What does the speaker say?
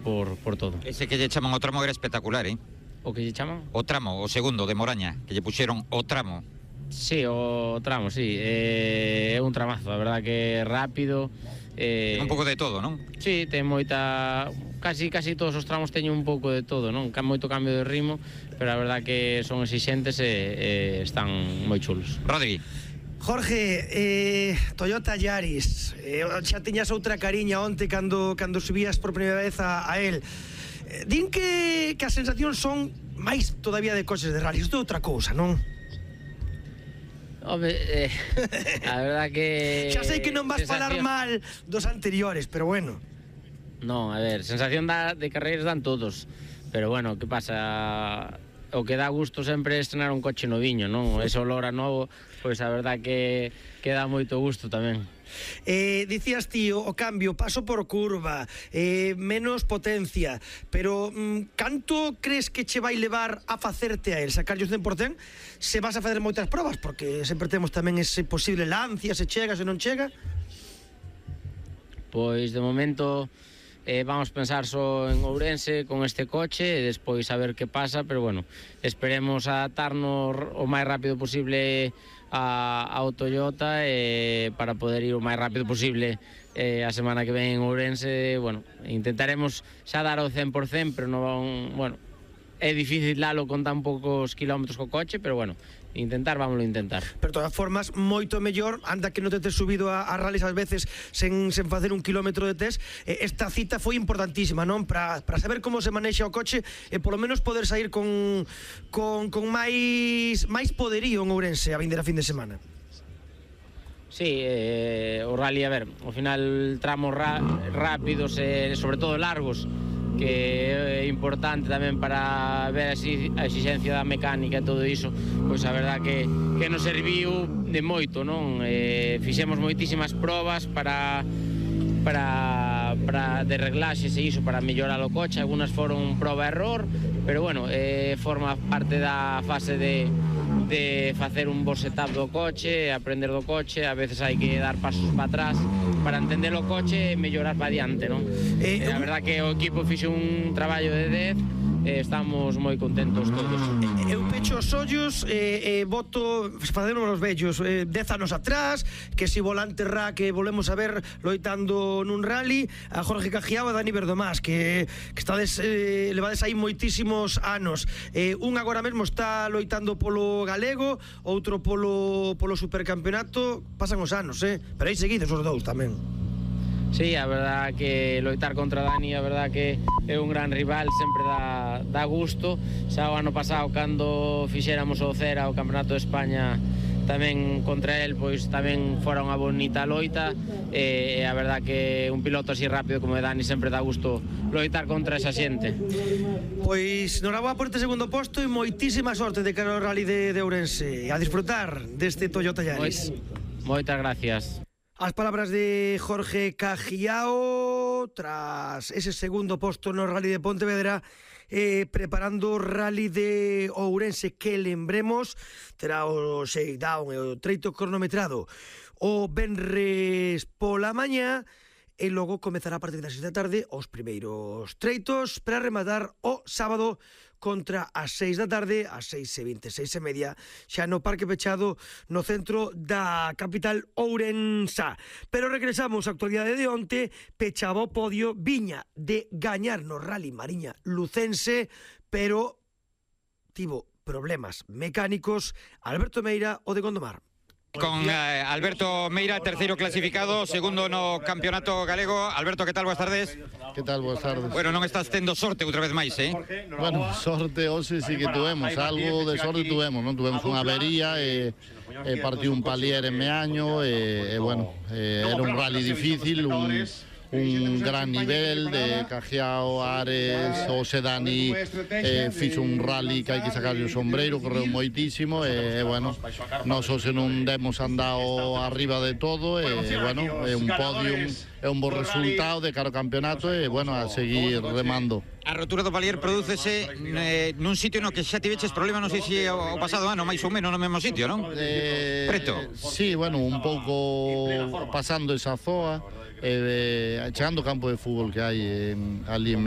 por todo. Ese que lle chaman o tramo era espectacular, eh? O que lle chaman? O tramo, o segundo de Moraña, que lle puxeron o tramo. Sí, o tramo, sí. É un tramazo, a verdad que é rápido. Ten un pouco de todo, non? Sí, ten moita... Casi todos os tramos teñen un pouco de todo, non? Moito cambio de ritmo, pero a verdad que son exixentes e están moi chulos. Rodri. Jorge, Toyota Yaris, xa tiñas outra cariña onte cando subías por primeira vez a él. Din que as sensacións son máis todavía de coches de rally, isto é outra cousa, non? Home, a verdad que... Xa sei que non vas falar mal dos anteriores, pero bueno. Non, a ver, sensación de carreiras dan todos, pero bueno, que pasa... O que dá gusto sempre é estrenar un coche noviño, non? Ese olor a novo, pois a verdad que dá moito gusto tamén. Dicías ti, o cambio, paso por curva, menos potencia, pero canto crees que che vai levar a facerte a él, sacarlle o 100%, se vas a facer moitas probas, porque sempre temos tamén ese posible lancia, se chega, se non chega? Pois de momento... vamos pensar só en Ourense con este coche e despois a ver que pasa, pero bueno, esperemos adaptarnos o máis rápido posible ao Toyota para poder ir o máis rápido posible a semana que ven en Ourense. Bueno, intentaremos xa dar o 100%, pero non, bueno, é difícil dalo con tan poucos kilómetros co coche, pero bueno, vámoslo intentar. Pero de todas formas, moito mellor, anda que non te tes subido a rallies ás veces sen facer un kilómetro de test. Esta cita foi importantísima, non? Para saber como se manexa o coche e polo menos poder sair con máis poderío en Ourense a vindeira fin de semana. Sí, o rally, a ver, ao final tramos rápidos e sobre todo largos, que é importante tamén para ver a exigencia da mecánica e todo iso, pois a verdad que nos serviu de moito, non? Fixemos moitísimas probas para de reglaxes e iso para mellorar o coche, algunas foron proba-error, pero bueno, forma parte da fase de facer un bo setup do coche, aprender do coche, a veces hai que dar pasos para atrás para entender o coche e mellorar para diante, non? A verdad que o equipo fixe un traballo de 10, estamos moi contentos todos. Eu pecho os ollos e voto facemos os vellos 10 anos atrás, que si volante que volvemos a ver loitando nun rally, a Jorge Cajiao e Dani Verdomás, que estades levades aí moitísimos anos. Un agora mesmo está loitando polo galego, outro polo supercampeonato. Pasan os anos, pero aí seguidos os dous tamén. Sí, a verdad que loitar contra Dani, a verdad que é un gran rival, sempre dá gusto. Xa o ano pasado, cando fixéramos o Cera, o Campeonato de España, tamén contra el, pois tamén fora unha bonita loita, e a verdad que un piloto así rápido como Dani sempre dá gusto loitar contra esa xente. Pois noraboa por este segundo posto e moitísima sorte de cara ao rally de Ourense, a disfrutar deste Toyota Yaris. Moitas gracias. As palabras de Jorge Cajiao tras ese segundo posto no Rally de Pontevedra, preparando o Rally de Ourense, que lembremos terá o shakedown e o treito cronometrado o venres pola mañá, e logo comezará a partir das 6 da tarde os primeiros treitos para rematar o sábado contra as 6 da tarde, as 6:20, 6:30, xa no parque pechado no centro da capital ourensá. Pero regresamos á actualidade de onte. Pechaba o podio, viña de gañar no Rally Mariña Lucense, pero tivo problemas mecánicos Alberto Meira, o de Gondomar. Con Alberto Meira, terceiro clasificado, segundo no campeonato galego. Alberto, que tal? Boas tardes. Que tal? Boas tardes. Bueno, non estás tendo sorte outra vez máis, Bueno, sorte hoxe sí que tuvemos, algo de sorte tuvemos, non? Tuvemos unha avería e partiu un palier en Meaño e bueno, era un rally difícil, un gran nivel de Cajiao, Ares, o Sedani, fixo un rally que hai que sacarle o sombreiro, correu moitísimo e bueno, nós hoxe non demos andado arriba de todo e bueno, é un podium, é un bo resultado de cara ao campeonato e, bueno, a seguir remando. A rotura do palier prodúcese nun sitio no que xa tiveches problema, non sei se o pasado ano, máis ou menos no mesmo sitio, non? Preto. Sí, bueno, un pouco pasando esa zoa, chegando ao campo de fútbol que hai ali en